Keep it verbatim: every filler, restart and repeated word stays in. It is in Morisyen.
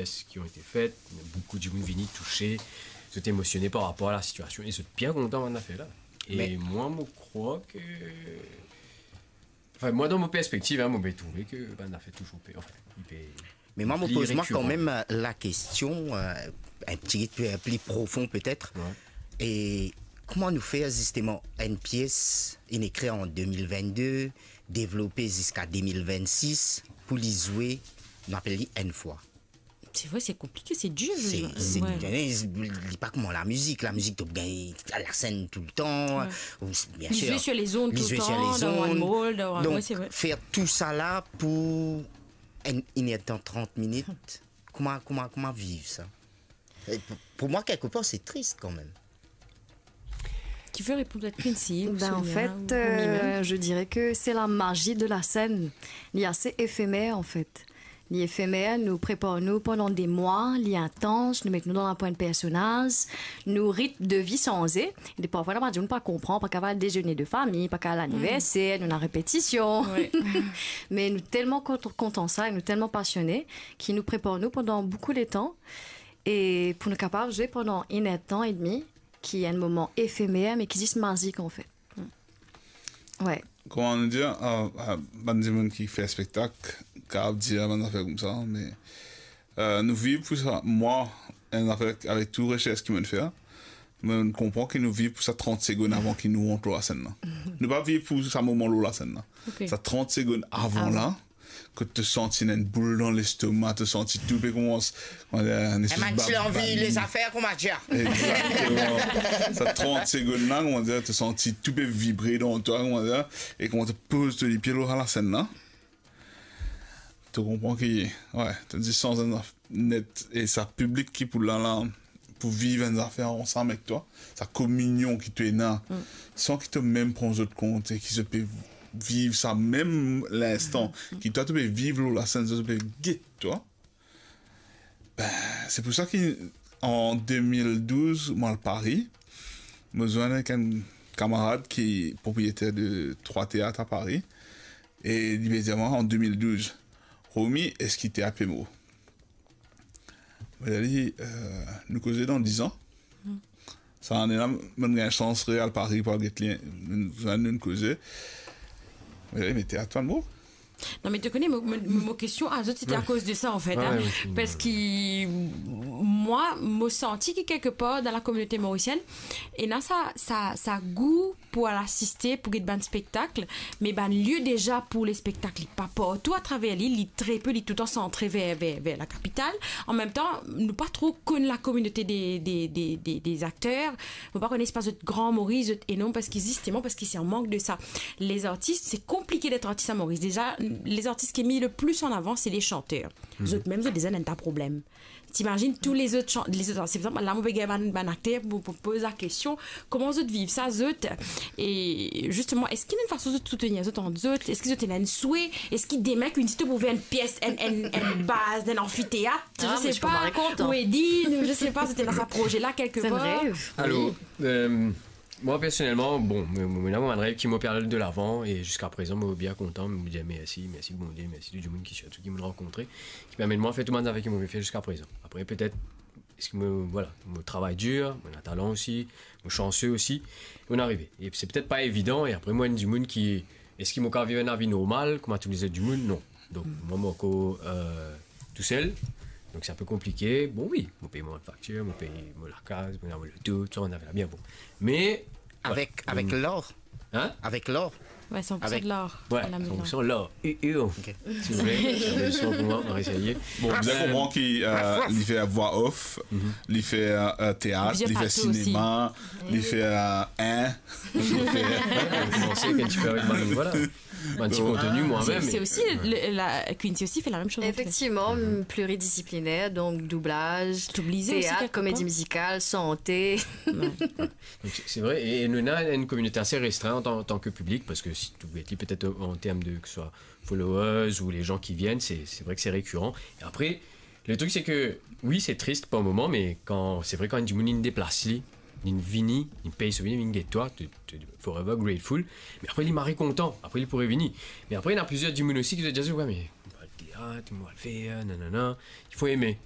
pièces qui ont été faites, beaucoup de monde vini touché, zot émotionné par rapport à la situation, et zot bien content de faire là. Et moi, je crois que, enfin, moi, dans mon perspective, hein, moi, j'ai trouvé que ben, on a fait toujours peur. Enfin, il fait... Mais moi, je me pose moi quand même euh, la question, euh, un petit peu plus profond peut-être. Ouais. Et comment nous faire justement une pièce, une écrite en deux mille vingt-deux, développer jusqu'à deux mille vingt-six pour les jouer, on appelle une fois. C'est vrai, c'est compliqué, c'est dur. C'est, c'est, ouais. Li pa kouma la musique. La musique, tu gagnes à la scène tout le temps. Ouais. Ou, bien sûr. Ils jouent sur les ondes tout le temps, dans One World, dans... Donc, ouais, c'est vrai. Faire tout ça là pour une, une heure de temps, trente minutes, comment, comment, comment vivre ça ? Et pour, pour moi, quelque part, c'est triste quand même. Qui veut répondre à Quincy ou Sonia ou Mimi ? Ben, en fait, euh, je dirais que c'est la magie de la scène. Il est assez éphémère, en fait. Li efemer, nou prepar nou pandan de mwa, li intans, nou met nou dan lapo enn personaz, nou ritm de vi sanze. E parfwa, nou pa, nou pa konpran, pa kapav al dezene de fami, pa kapav al laniverser, nou ena repetision. Wi. Me nou telman kont-, kontan sa, e nou telman pasione, ki nou prepar nou pandan boukou letan, e pou nou kapav zwe pandan enn er tan edmi, ki enn moman efemer, me ki zis mazik, anfet. Wi. Kouma nou dir, euh, euh, bann dimoun ki fer spektak, kapav dir bann zafer koumsa, me, euh, nou viv pou sa. Mwa, enn zafer avek tou resers ki mo'nn fer, mo'nn konpran ki nou viv pou sa trant segonn avan ki nou rant lor lasenn la. Nou pa viv pou sa moman lor lasenn la. Ok. Sa trant segonn avan la, kot to santi ena enn boul dan lestoma, to santi tou pe koumans, kouma dir, enn espes... Enn bann ti lanvi, bann les affaires, kouma dir. Egzakteman. Sa trant segonn la, kouma dir, to santi tou pe vibre dan twa, kouma dir, e kouma to poz to lipie lor lasenn la, to konpran ki, wi, to distans net, e sa piblik ki pou la la, pou viv enn zafer ansam ek twa, sa kominion ki to ena, san ki to mem pran zot kont, e ki zot pe viv sa mem linstan, ki twa to pe viv lor lasenn, zot pe get twa. Ben, se pou sa ki, an de mil douz, mwa al Pari, mo zwenn ek enn kamarad ki propriyeter de trwa teat a Pari, e li pe dir mwa an de mil douz, "Romy, eski teat pe mor?" Mo dir li, euh, nou koze dan diz an. Sa ane la, mo'nn gagn sans re al Pari pou al get li, nou, nou, nou koze. Mo dir li, "Me teat pa mor." Non, me to kone, mo, mo, mo, mo kestion a zot, sete akoz de sa, anfet, wi, parski mwa, mo santi ki kelkepar dan lakominote morisienn, ena sa, sa, sa gou pou al asiste, pou get bann spektak, me bann lie deza pou lespektak, li pa partou atraver lil, li tre pe, li touletan santre ver, ver, ver lakapital. An mem tan, nou pa tro konn lakominote de, de, de, de, de akter. Mo pa kone si pa zot gran Moris, zot enorm, parski zisteman, parski se an mank de sa. Les artistes, c'est compliqué d'être artiste à Maurice. Déjà, les artistes qui est mis le plus en avant, c'est les chanteurs. Zot mem, zot deza ena enn ta problem. T'imagines tous les autres chan-, les autres, se pou sa la mo pe gagn bann, bann akter pou, pou poz lakestion, kouma zot viv sa, zot? E zisteman, eski ena enn fason zot soutenir zot ant zot? Eski zot ena enn swe? Eski demin, Quincy, to pou fer enn pies, enn, enn, enn baz dan enn anfiteat? Ah, je sais pas, ou Edine, ou je sais pas, zot ena sa proze la kelkepar? C'est un rêve. Alor, euh, mwa, personelman, bon, mo, mo, mo ena mo bann rev ki mo pe al delavan, e ziska prezan, mo bien kontan, mo dir mersi, mersi Bondie, mersi tou dimoun ki, sirtou ki mo'nn rankontre, ki permet mwa fer tou bann zafer ki mo pe fer ziska prezan. Apre, petet, eski mo, vwala, mo travay dir, mo ena talan osi, mo sanse osi, mo'nn arive. E se petet pa evidan, e apre, mwa, enn dimoun ki, eski mo kapav viv enn lavi normal, kouma tou lezot dimoun? Non. Donk, mwa, mo ankor, euh, tousel. Donk, se inpe konplike. Bon, wi, mo pey mo faktir, mo pey mo lakaz, mo, mo loto, tou sa, mo'nn arive la bien, bon. Me, avek, avek lar. Hein? Avek lar. Ouais, cent pour cent de l'or. Ouais, cent pour cent l'or. U, u. Ok. Si vous voulez, c'est un peu le son pour moi, on va essayer. Bon, bien konpran ki, euh, li fer vwa off, li fer, euh, teat, li fer sinema, li fer, euh, in, li fer... Komanse enn tipe avek bann, vwala. Bann ti konteni, mwa mem. C'est aussi le, la, Quincy aussi fait la même chose, en fait. Effectivement, pluridisciplinaire, donc doublage, théâtre, comédie musicale, santé. Donk, se, se vre, e, e nou ena enn kominote ase restrin an tan, an tan ke piblik, parski si tou get li, petet an term de, ke se swa followers ou les gens qui viennent, se, se vre ke se rekiran. E apre, le truc, c'est que, wi, se tris par moman, me kan, se vre, kan enn dimoun, li deplas li, li vini, li pey so vini, li vinn get twa, to, to forever grateful. Me apre, li mari kontan, apre, li pou revini. Me apre, ena plizier dimoun osi ki dir, "Wi, me mo al teat, mo al fer, nanana." Il faut aimer.